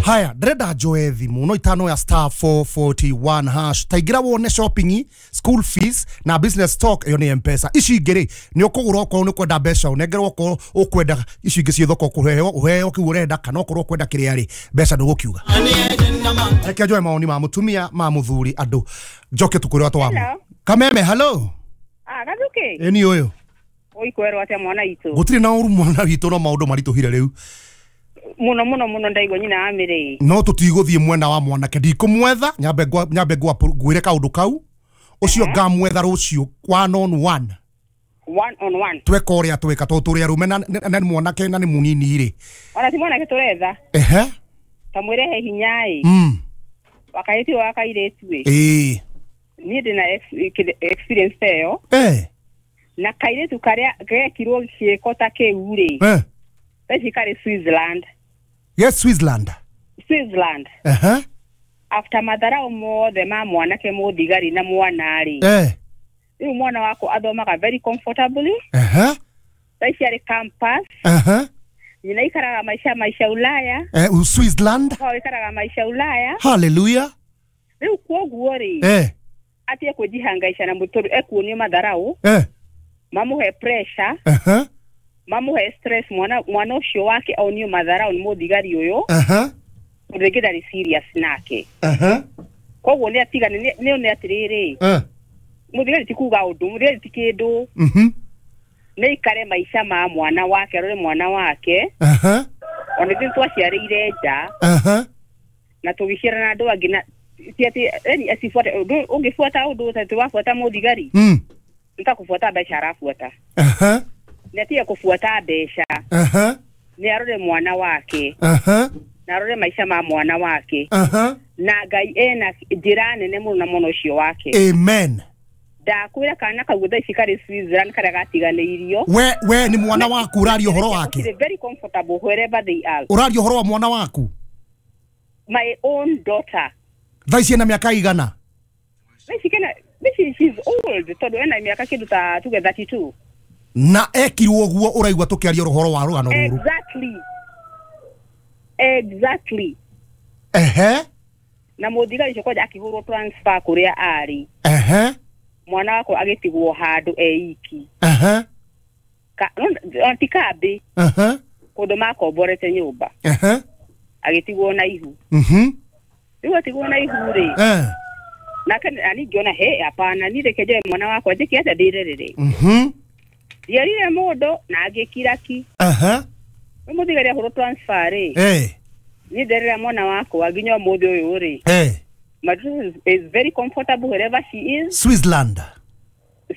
Haya, ndĩrenda njoe thimũ no itano ya star 441 hash. Taingĩra wone shopping, school fees na business talk, ĩyo nĩ M-Pesa. Ici ingĩ rĩ, nĩ ũkũgũra okorwo nĩ ũkwenda mbeca, ũnengerwo okorwo ũkwenda ici ingĩ ciĩ thoko, kũheo ũheo kĩu ũrenda, kana okorwo ũkwenda kĩrĩa rĩ, mbeca ndũgũkiuga. Reke njoe maoni ma mũtumia ma mũthuri andũ njoke tũkwĩre atwamu. Hello. Kameme, hello. Ah, Gathuki. Ĩni ũyũ. Ũikwerwo atĩa mwana witũ? Gũtirĩ na ũru mwana witũ, no maũndũ maritũhire rĩu. Muno muno muno ndaigua nyina wa mĩrĩ. No tũtigũthiĩ mwena wa mwanake, ndikũmwetha, nyambe ngwĩre kaũndũ kau ũcio ngamwetha rũciũ one on one. One on one. Tweka ũrĩa twĩka tondũ tũrĩ arũme na nĩ mwanake na nĩ mũnini rĩ. Ona ti mwanake tũretha. Ehe. Ta mwĩre he hinya ĩ. Wakaĩti wa kairĩtu ĩ. Ĩĩ. Niĩ ndĩna experience ta ĩyo. Eh. Na kairĩtu karĩa gekirwo gĩko ta kĩu rĩ. Eh. Thaa ici karĩ Switzerland. Yes, Switzerland. Switzerland. Ehe. After matharau mothe ma mwanake mũthigari na mwana rĩ. Eh. Rĩu mwana wakwa athomaga very comfortably. Ehe. Thaa ici arĩ campus. Ehe. Nyina ikaraga maisha Ulaya. Eh, Switzerland. Kwao ikaraga maisha Ulaya. Hallelujah. Rĩu kwoguo rĩ. Eh. Atige kwĩjihangaica na mũtũrũ ekuonio matharau. Eh. Mamũhe pressure. Ehe. Mamũhe stress, mwana ũcio wake onio matharau nĩ mũthigari ũyũ. Ehe. Tondũ rĩngĩ ndarĩ serious nake. Ehe. Koguo nĩ atigane, nĩ one atĩrĩrĩ. Eh. Mũthigari ti kuga ũndũ, mũthigari ti kĩndũ. Mhm. Nĩ ikare maica ma mwana wake, arore mwana wake. Ehe. Ona ithuĩ twaciarĩire nja. Ehe. Na tũgĩciara na andũ angĩ na ti atĩ, yani asifuate ũndũ, ũngĩbuata ũndũ ta wabuata mũthigari. Nĩ ta kũbuata mbeca arabuata. Ehe. Nĩ atige kũbuata mbeca. Ehe. Nĩ arore mwana wake. Ehe. Na arore maica ma mwana wake. Ehe. Na Ngai ena njĩra nene mũno na mwana ũcio wake. Amen. Ndakwĩra kana kau thaa ici karĩ Switzerland karĩa gatiganĩirio. We nĩ mwana waku ũraria ũhoro wake. They're very comfortable wherever they are. Ũraria ũhoro wa mwana waku? My own daughter. Thaa ici ena mĩaka igana? Thaa ici kena, she's old tondũ ena mĩaka kĩndũ ta tuge 32. Na ekirwo ũguo ũraigua tũkĩaria ũhoro wa rũgano rũrũ. Exactly. Exactly. Ehe. Na mũthigari ũcio kwanja akĩhũrwo transfer kũrĩa arĩ. Ehe. Mwana wakwa agĩtigwo handũ eiki. Ehe. Ti kambĩ. Ehe. Kũndũ makomborete nyũmba. Ehe. Agĩtigwo na ihu. Mhm. Rĩu atigwo na ihu rĩ. Eh. Nake nani ngĩona he hapana, niĩ reke njoe mwana wakwa njĩke atĩa ndĩrerere. Mhm. Ndierire mũndũ na ngĩkira ki. Ehe. Rĩu mũthigari ahũrwo transfer rĩ. Eh. Niĩ nderera mwana wakwa nginya ũmũthĩ ũyũ rĩ. Eh. My daughter is very comfortable wherever she is. Switzerland.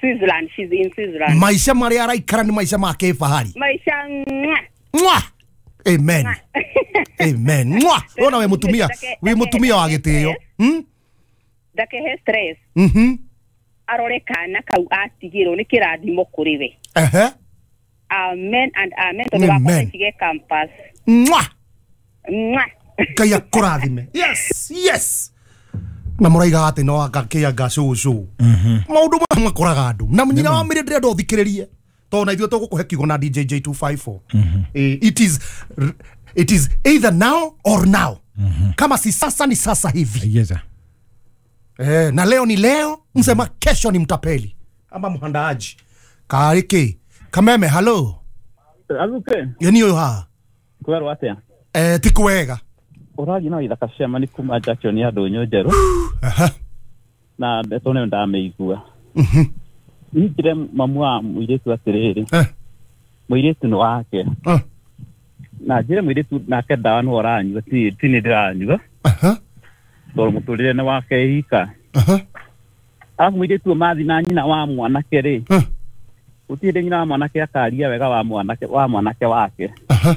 Switzerland, she's in Switzerland. Maisha marĩa araikara nĩ maica ma kĩfahari. Maisha mwa. Mwa. Amen. Amen. Mwa. Wona we mutumia, we mutumia wa gĩtĩo. Ndakehe stress. Mhm. Arore kana kau atigĩrwo nĩ kĩrathimo kũrĩ we. Ehe. Amen and amen. Tondũ wakwa nĩtige campus. Mwa. Mwa. Ngai akũrathime. Yes, yes. Na mũraiga atĩ no angakĩanga cũcũ. Maũndũ maya makoraga andũ. Na nyina wa mĩrĩ ndĩrenda ũthikĩrĩrie. Tondũ na ithuĩ tũgũkũhe kiugo na DJ J254. It is either now or now. Kama si sasa ni sasa hivi. Yes. Na leo ni leo, msema kesho ni mtapeli ama mhandaaji. Kariki. Kameme, hello. Azuke. Yeni oyo ha. Kwerwo atia? Eh, ti kwega. Ũrathi no ithaka cia ni kuma Jackson ya ndũnyũ njerũ. Aha. Na ndeto nĩyo ndamĩigua. Mhm. Njire mamu wa mũirĩtu atĩrĩrĩ. Eh. Mũirĩtu nĩ wake. Eh. Na njire mũirĩtu nake ndawa nĩ ũranyua, ti nĩ ndĩranyua. Aha. Tondũ mũtũrĩre nĩ wake ika. Aha. Arabu mũirĩtu mathi na nyina wa mwanake rĩ. Gũtirĩ hĩndĩ nyina wa mwanake akaria wega wa mwanake wake. Aha.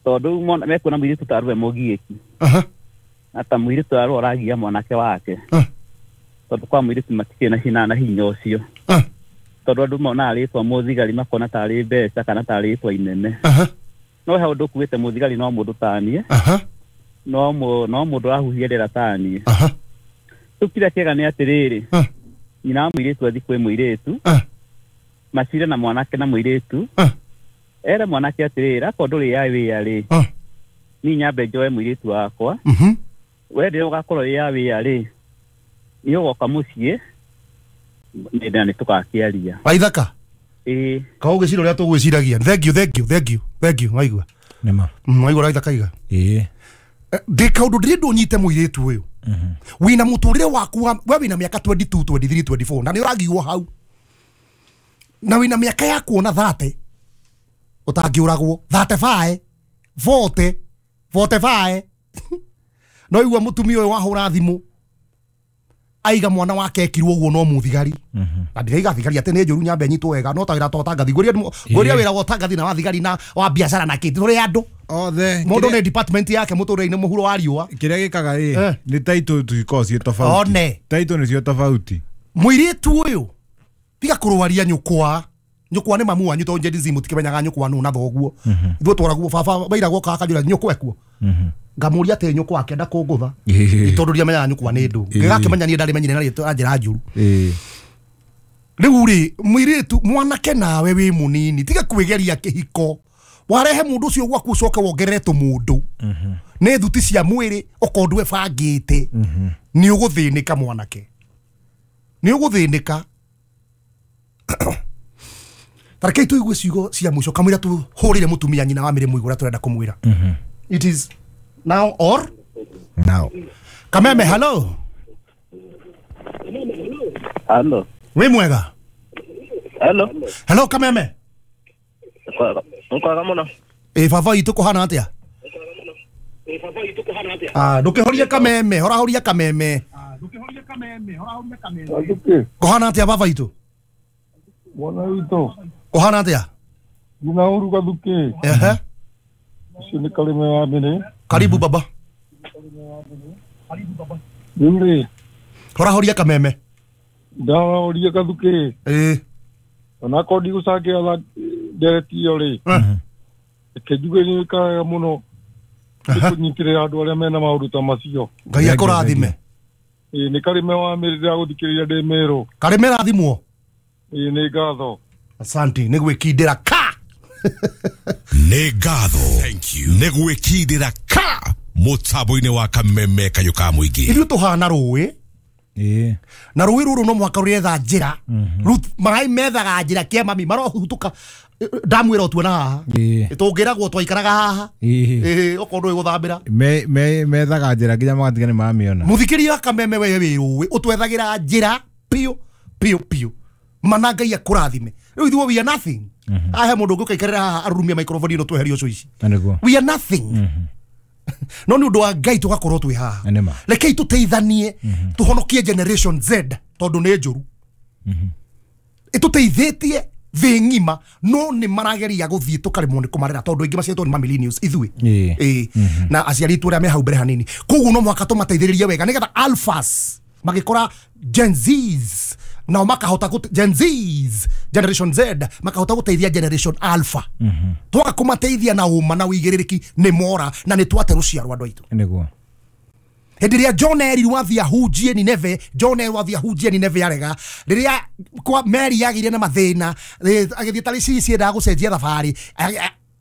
Tondũ mekuona mũirĩtu ta arũe mũgiĩki. Aha. Na ta mũirĩtu arũe ũragia mwanake wake. Tondũ kwa mũirĩtu matikĩrĩ na hinya na hinya ũcio. Tondũ andũ monaga rĩtwa mũthigari makona tarĩ mbeca kana tarĩ rĩtwa inene. No he ũndũ ũkuĩte mũthigari no mũndũ taniĩ. No mũndũ ũrahuhia rĩera taniĩ. Rĩu kĩrĩa kĩega nĩ atĩrĩrĩ, nyina wa mũirĩtu athiĩ kwĩ mũirĩtu, macire na mwanake na mũirĩtu, ere mwanake atĩrĩrĩ, akorwo ndũrĩ ya wĩra rĩ, Ni nyambe njoe mũirĩtu wakwa. We rĩrĩa ũgakorwo wĩ ya wĩra rĩ, nĩ ũgoka mũciĩ na nĩ tũgakĩaria. Waithaka. Ĩĩ. Ka ũgĩcira ũrĩa tũgwĩciragia. Thank you, thank you, thank you, thank you. Waigua. Nĩma. Waigua Waithaka iga. Ĩĩ. Ndĩ kaũndũ ndĩrenda ũnyite mũirĩtu ũyũ. Wĩna mũtũrĩre waku we wĩna mĩaka 22, 23, 24 na nĩ ũragiwo hau. Na wĩna mĩaka ya kuona 30 ũtangĩũragwo 35, 40, 45. No igua mũtumia ũyũ wahũra thimũ aiga mwana wake ekirwo ũguo no mũthigari. Na ndiraiga thigari atĩ nĩ njũru nyambe nyitwo wega no ta wĩra ta ũtangathi. Ngũria wĩra wa ũtangathi na wa thigari na wa biacara na kĩ tũrĩ andũ othe. Mũndũ nĩ department yake mũtũrĩre-inĩ mũhuro wa riũa. Kĩrĩa gĩkaga ĩ nĩ title tuikoragwo ciĩ tofauti. One. Title nĩcio tofauti. Mũirĩtu ũyũ tiga kũrwaria nyũkwa. Nyũkwa nĩ mamu wanyu tondũ Gen Z mũtikĩmenyaga nyũkwa nũ na thoguo. Ithuĩ twaragwo baba mairagwo kakanjũra nyũkwa ekuo. Ngamũria atĩ nyũkwa akĩenda kũngũtha. Tondũ ndiamenyaga nyũkwa nĩ ndũ. Ngĩgakĩmenya niĩ ndarĩmenyire na rĩtwa njĩra njũru. Rĩu rĩ mũirĩtu mwanake nawe wĩ mũnini tiga kwĩgeria kĩhiko. Warehe mũndũ ũcio gwaku ũcoke wongerere tũmũndũ. Nĩ thuti cia mwĩrĩ okorwo ndwebangĩte. Nĩ ũgũthĩnĩka mwanake. Nĩ ũgũthĩnĩka. Tarekei tũigue ciugo cia mũico kamũira tũhũrĩre mũtumia nyina wa mĩrĩ mũigũ ũrĩa tũrenda kũmwĩra. It is now or now. Kameme, hello. Hello. Wĩ mwega? Hello. Hello Kameme. Nkwega mũno. Ĩ baba itũ kũhana atĩa? Ah, ndũkĩhorie Kameme, horahoria Kameme. Kũhana atĩa baba itũ? Mwana witũ. Kũhana atĩa? Ngina ũru Gathukĩ. Ehe. Ũcio nĩ Karĩme wa Mĩrĩ. Karibu baba. Rĩu rĩ. Horahoria Kameme. Ndahoria Gathukĩ. Ĩĩ. Onakorwo ndigũcangĩra ndereti ĩyo rĩ. Reke njuge nĩ wĩkaga mũno kũnyitĩrĩra andũ arĩa mena maũndũ ta macio. Ngai akũrathime. Ĩĩ nĩ Karĩme wa Mĩrĩ ndĩragũthikĩrĩria ndĩ Mĩrũ. Karĩme rathimwo. Ĩĩ nĩ ngatho. Asante nĩ gwĩkindĩra ka. Nĩ ngatho. Thank you. Nĩ gwĩkindĩra ka mũtambo-inĩ wa Kameme kayũ ka mũingĩ. Ithuĩ tũhana rũĩ. Ĩĩ. Na rũĩ rũrũ no mũhaka rũretha njĩra. Rĩu maĩ methaga njĩra kĩa mami marohutũka ndamu ĩrotuona haha. Tũngĩragwo twaikaraga haha. Ĩĩ okorwo ndũĩ gũthambĩra. Methaga njĩra nginya magatiga nĩ mamĩona. Mũthikĩria wa Kameme we wĩ rũĩ ũtwethagĩra njĩra piũ piũ piũ. Mana Ngai akũrathime. Rĩu ithuĩ we are nothing. Ahe mũndũ ũngĩ ũkaikarĩra haha arurumie microphone ĩno tweherio ũcio ici. We are nothing. No nĩ ũndũ wa Ngai tũgakorwo twĩ haha. Rekei tũteithanie tũhonokie generation Z tondũ nĩ njũru. Ĩtũteithĩtie thĩ ng'ima no nĩ marageria gũthiĩ tũkaremwo nĩ kũmarera tondũ aingĩ maciarĩtwo nĩ ma millennials ithuĩ. Ĩĩ. Na aciari aitũ arĩa me hau mbere hanini. Koguo no mũhaka tũmateithĩrĩrie wega nĩgetha alphas magĩkora Gen Zs nao makahota Gen Zs Generation Z makahota gũteithia Generation Alpha. Twaga kũmateithia na ũma na ũigĩrĩrĩki nĩ mora na nĩ twate rũciaro andũ aitũ. Nĩguo. Hĩndĩ ĩrĩa John erirwo athiĩ ahunjie Nineve, John erirwo athiĩ ahunjie Nineve arega. Rĩrĩa kwa Mary yagĩire na mathĩna, agĩthiĩ tarĩ ciendaga gũcenjia thabarĩ,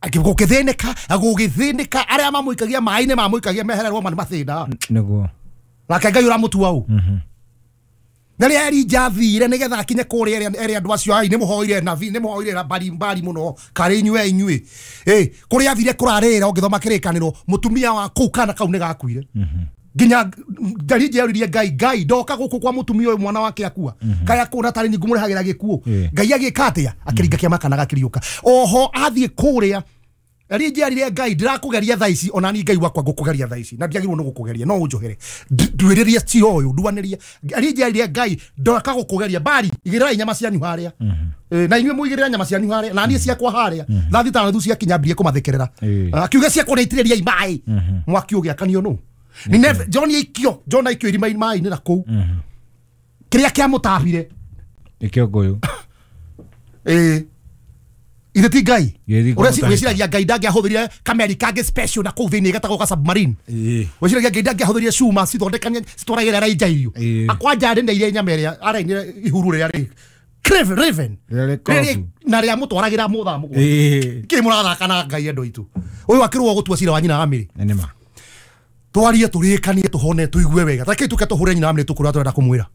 gũgĩthĩnĩka, gũgĩthĩnĩka, arĩa mamũikagia maĩ-inĩ mamũikagia mehererwo ma nĩ mathĩna. Nĩguo. Nake Ngai ũramũtua ũ. Na rĩrĩa Elijah athire nĩgetha akinye kũrĩa ere andũ acio ai nĩ mũhoire nabii nĩ mũhoire mbari mbari mũno karĩ inyuĩ inyuĩ. Kũrĩa athire kũrarĩra ũngĩthoma kĩrĩkanĩro mũtumia wa kũu kana kau nĩ gakuire. Nginya Elijah oririe Ngai, Ngai ndoka gũkũ kwa mũtumia ũyũ mwana wake akua. Kaya kũna tarĩ ni ngũmũrehagĩra gĩkuũ. Ngai agĩka atĩa? Akĩringa kĩama kana gakĩriũka. Oho athiĩ kũrĩa Elijah arire Ngai ndirakũgeria thaa ici ona ni Ngai wakwa ngũkũgeria thaa ici na ndiagĩrĩirwo nĩ gũkũgeria no ũnjohere nduĩrĩrie cira ũyũ nduanĩrie. Elijah arire Ngai ndoka gũkũgeria mbari igĩrĩrai nyama cianyu harĩa. Na inyuĩ mũigĩrĩra nyama cianyu harĩa na niĩ ciakwa harĩa thaa thita na nuthu ciakinya mbirie kũmathekerera akiuga ciakwa nĩ itĩrĩriai maĩ mwaki ũgĩakanio nũ. Nineve John aikio John aikio irima maĩ-inĩ na kũu kĩrĩa kĩamũtahire nĩkĩo ngũyũ. Ithe ti Ngai wĩciragia Ngai ndangĩahũthĩrire kameri kangĩ special na kũu thĩinĩ getagwo ka submarine. Wĩciragia Ngai ndangĩahũthĩrire cuma cithondekanie citwaragĩra Elijah irio. Akwanja arĩnĩire nyama ĩrĩa arainire ihuru rĩrĩa rĩ Raven na ria mutwaragira muthaa mugwa ki murathaka na Ngai andu aitu uyu akirwo gutua cira wa nyina wa Mary nima twarie turikanie tuhone tuigue wega take tuke tuhure nyina wa Mary tukura turenda kumwira.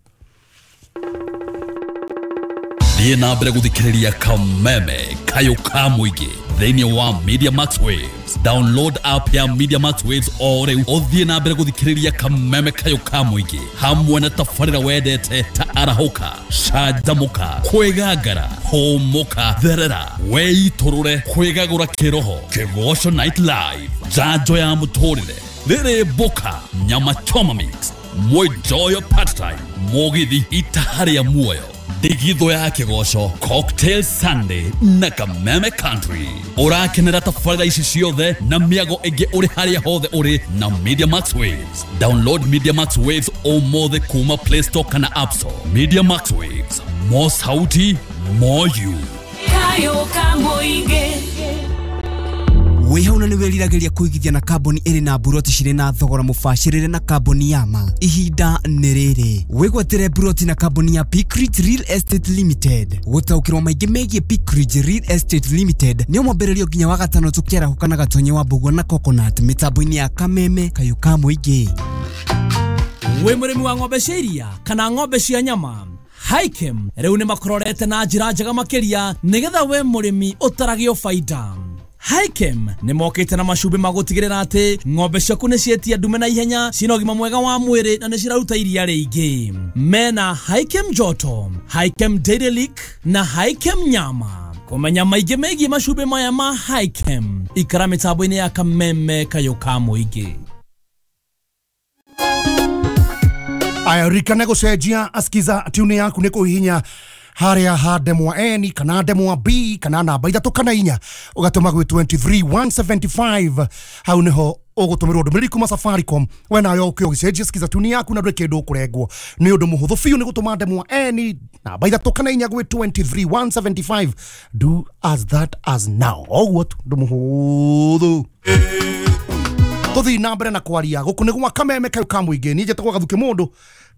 Thiĩ na mbere gũthikĩrĩria Kameme Kayũ ka Mũingĩ thĩinĩ wa Media Max Waves. Download app ya Media Max Waves o rĩu ũthiĩ na mbere gũthikĩrĩria Kameme Kayũ ka Mũingĩ hamwe na tabarĩra wendete ta arahũka, canjamũka, kwĩgangara, hũmũka, therera, weitũrũre, kwĩgagũra kĩroho, Kĩgoco Night Live, njanjo ya mũtũrĩre, rĩrĩ mboka, nyama choma mix, mwenjoyo part time, mũgithi itaha rĩa muoyo, ndigitho ya Kĩgoco, Cocktail Sunday na Kameme Country. Ũrakenera tabarĩra ici ciothe na mĩago ĩngĩ ũrĩ harĩa hothe ũrĩ na Media Max Waves. Download Media Max Waves ũmũthĩ kuma Play Store kana App Store. Media Max Waves, more sauti, more you. Kayo ka Mũingĩ. Wĩ na nĩ wĩriragĩria kũigithia na kambuni ĩrĩ na mburoti cirĩ na thogora mũbacĩrĩre na kambuni ya ma. Ihinda nĩ rĩrĩ wĩgwatĩre mburoti na kambuni ya Peak Ridge Real Estate Limited. Gũtaũkĩrwo maingĩ megiĩ Peak Ridge Real Estate Limited nĩ mwambĩrĩrio nginya wa gatano tũkĩarahũka na Gatonye wa Mbũgua na Coconut mĩtambo-inĩ ya Kameme Kayũ ka Mũingĩ. Wĩ mũrĩmi wa ng'ombe cia iria kana ng'ombe cia nyama, Haikem rĩu nĩ makororete na njĩra njega makĩria nĩgetha we mũrĩmi ũtaragio baida. Haikem nĩ mokĩte na macumbĩ ma gũtigĩrĩra atĩ ng'ombe ciaku nĩ cietia ndume na ihenya, cina ũgima mwega wa mwĩrĩ na nĩ ciraruta iria rĩingĩ. Mena Haikem Joto, Haikem Dairy Lick na Haikem Nyama. Kũmenya maingĩ megiĩ macumbĩ maya ma Haikem, ikara mĩtambo-inĩ ya Kameme Kayũ ka Mũingĩ. Aya rikane gũcenjia askiza tune yaku nĩ kũhihinya haria ha ndemwa N kana ndemwa B kana namba 3 kana 4 ugatũma gwĩ 23175 hau niho ũgũtũmĩrwo ndũmĩrĩri kuma Safaricom we nayo ũkĩ ũgĩcenjia skiza tune yaku na ndũrĩ kĩndũ ũkũrengwo nĩ ũndũ mũhũthũ biũ nĩ gũtũma ndemwa N namba 3 kana 4 gwĩ 23175. Do as that as now ũguo tu ũndũ mũhũthũ. Tũthiĩ na mbere na kwaria gũkũ nĩ gwa Kameme Kayũ ka Mũingĩ. Niĩ njĩtagwo Gathuki Mũndũ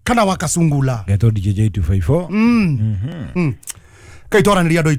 kana wa Kasungula Geto DJ 254. Kaitwaranĩria andũ.